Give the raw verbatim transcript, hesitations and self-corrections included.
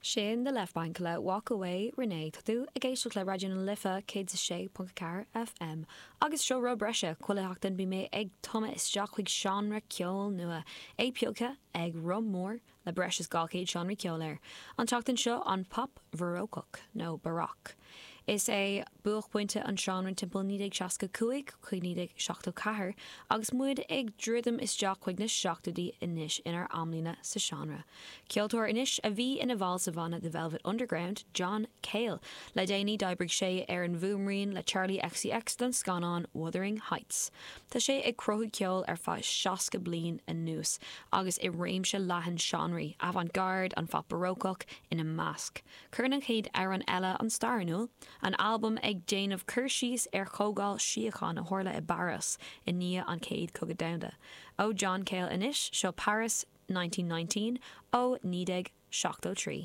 Sin The Left Banke le Walk Away Renee tá tú ag éisteacht le Raidió na Life céad a sé ponc ceathair FM. Agus seo rud breise chuile sheachtain bím ag tumadh isteach chuig seánra ceoil nua é pioctha ag Roth Mór le breis is dhá chéad seánraí ceoil air. An tseachtain seo an pop barócach nó baroque. Is é buaicphointe an seánra timpeall naoi déag seasca cúig chuig naoi déag seachtó ceathair agus muid ag druidim isteach chuig na seachtóidí anois inár amlíne sa seánra. Ceoltóir anois a bhí ina bhall sa bhanna The Velvet Underground, John Cale. Le déanaí d'oibrigh sé ar an bhfuaimrian le Charli XCX don scannán Wuthering Heights. Tá sé ag cruthú ceoil ar feadh seasca bliain anuas agus i réimse leathan seánraí, avant-garde, an phop barócach ina measc. Cuireann an chéad amhrán eile an stair in iúl, an albam ag déanamh cur síos ar chomhdháil síochána a tharla i bPáras i ndiaidh an chéad chogadh domhanda. Ó John Cale anois seo Paris nineteen nineteen ó naoi déag seachtó trí.